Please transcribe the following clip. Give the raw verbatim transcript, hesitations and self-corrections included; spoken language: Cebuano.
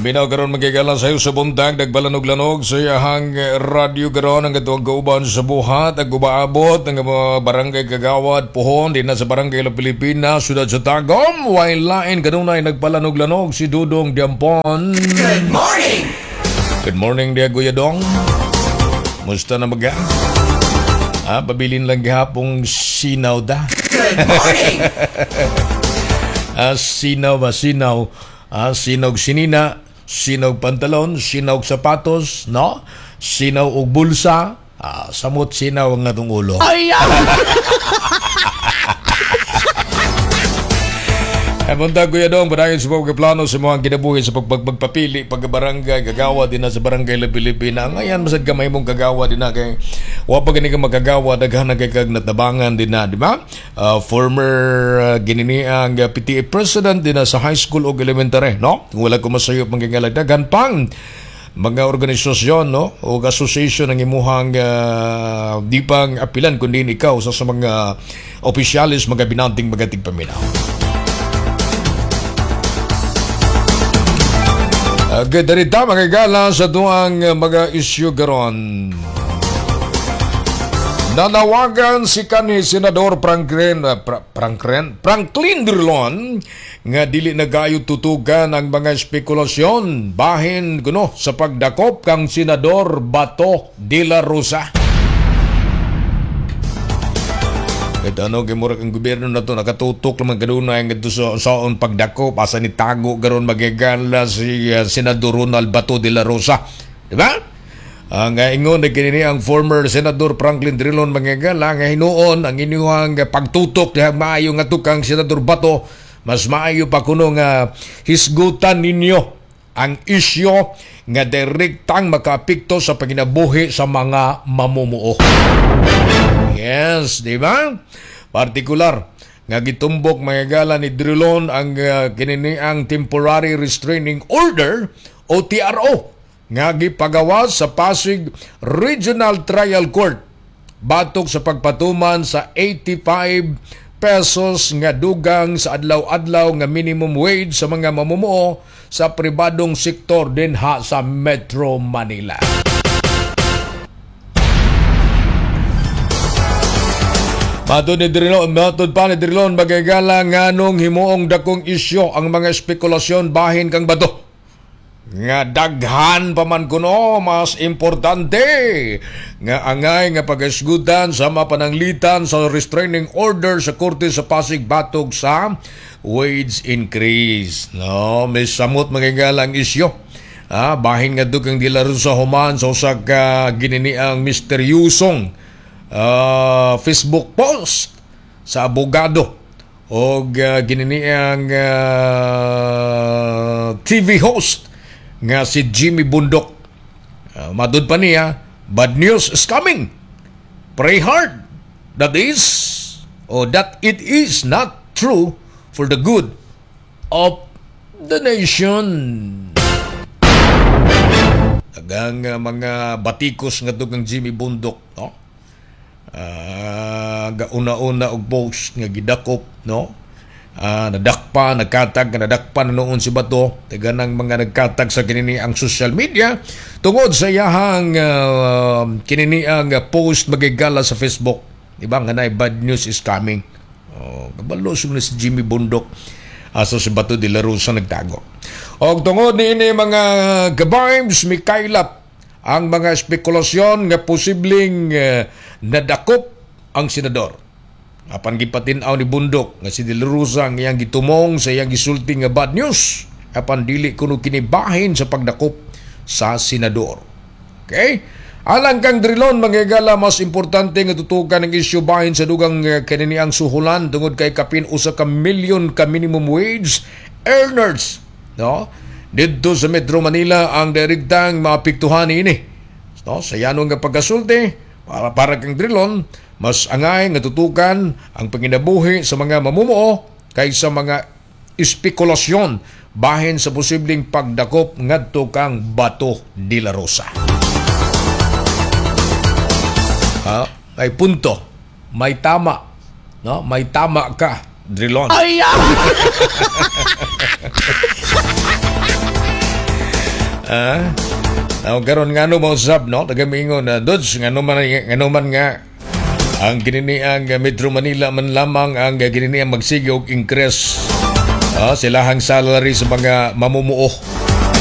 Paminaw karon, mga higala, sa sa buntag, nagpalanog-lanog sa iyahang radyo karon ang katong kauban sa buhat ag umaabot ang mga barangay kagawad pohon din sa Barangay La Pilipina, siyudad sa Tagum. Way lain kanunay nagpalanog-lanog si Dudong Diampon. Good morning! Good morning diya, Kuya Dong. Musta na maga? Ah, pabilin lang gihapong sinaw da. Good morning! Ah, sinaw ba, sinaw? Ah, sinaw sinina, sinaw pantalon, sinaw sapatos, no? Sinaw og bulsa, ah, samot sinaw ang atong ulo. Ay! Ay, punta, Kuya Dong, padayon sa mga plano sa mga kinabuhi sa pagpagpapili, pagkabarangay, kagawa din na sa Barangay La Pilipina. Ngayon, masad ka may mong kagawa din na kay wa pa gani ka magkagawa, daghan na kay kag natabangan din na, di ba? Uh, former uh, gininiang uh, P T A president din na sa high school o elementary, no? Kung wala ko masayop mangingalag, daghan pang mga organisasyon, no, o association ang imuhang uh, di pang apilan kundi ikaw sa, sa mga opisyalis, mga binanting mga tigpaminaw. Uh, darita mga gala sa tuang uh, mga isyu karon. Nanawagan si kanhi Senador Franklin uh, Fra- Franklin Franklin Drilon nga dili na gayo tutukan ang mga spekulasyon bahin kuno sa pagdakop kang Senador Bato de la Rosa. Kahit ano, kay murag ang gobyerno na to nakatutok naman kanunay nga sa saon pagdakop, asa ni tago karon, magigala, si uh, Senador Ronald Bato de la Rosa. Di ba? Ang uh, ingon na kini ang former Senador Franklin Drilon, magigala, nga hinuon ang inyong pagtutok diha maayo nga tukang Senador Bato, mas maayo pa kuno nga hisgutan ninyo ang isyo nga direktang makaapekto sa panginabuhi sa mga mamumuo. Yes, di ba? Partikular nga gitumbok, mga gala, ni Drilon ang uh, kininiang Temporary Restraining Order o T R O nga gipagawa sa Pasig Regional Trial Court batok sa pagpatuman sa eighty-five pesos nga dugang sa adlaw-adlaw nga minimum wage sa mga mamumuo sa pribadong sektor dinha sa Metro Manila. Matod ni Drilon, matod pa ni Drilon, magigala, nganong himuong dakong isyo ang mga spekulasyon bahin kang Bato? Nga daghan pa man kuno mas importante nga angay nga pagasgutan sa mapananglitan sa restraining order sa korte sa Pasig batok sa wage increase. No, may samot, magigala, ang isyo. Ah, bahin nga kang dilaro sa human sa usa ka gininiang misteryusong uh, Facebook post sa abogado o uh, gininiang uh, T V host nga si Jimmy Bundok. Uh, matud pa niya, "Bad news is coming. Pray hard. That is, or that it is not true for the good of the nation." Daghang uh, mga batikos nga kang Jimmy Bundok, no? Uh, una-una og post nga gidakop, no? Uh, nadakpa, nagkatag, nadakpa na noon si Bato. Taga ng mga nagkatag sa kinini ang social media tungod sa iyahang uh, kinini ang post, magigala, sa Facebook. Diba nga na "Bad news is coming." Oh, kabalo si Jimmy Bundok asa si Bato de la Rosa nagtago. Og tungod niini, mga ka-vibes, mikaylap ang mga spekulasyon nga posibleng uh, nadakop ang senador. Apan gipatin-aw ni Bundok nga si De La Rosa ang iyang gitumong sa iyang gisulti nga bad news apan dili kuno kinibahin sa pagdakop sa senador. Okay? Alang kang Drilon, mga higala, mas importante nga tutukan ang isyu bahin sa dugang uh, kaniniang suhulan tungod kay kapin usa ka milyon ka minimum wage earners, no, didto sa Metro Manila ang direktang maapektuhan niini, no? Sa yanong nga pagkasulti para para kang Drilon, mas angay nga tutukan ang panginabuhi sa mga mamumuo kaysa mga espekulasyon bahin sa posibleng pagdakop ngadto kang Bato de la Rosa. Ah, ay punto. May tama. No? May tama ka, Drilon. Ay! Ah? Uh, karon ngano mo usab, no? Tagamingon na Dudes, ngano man ngano man nga ang kinini ang Metro Manila man lamang ang kinini ang magsige og increase, ah, silahang salary sa mga mamumuo.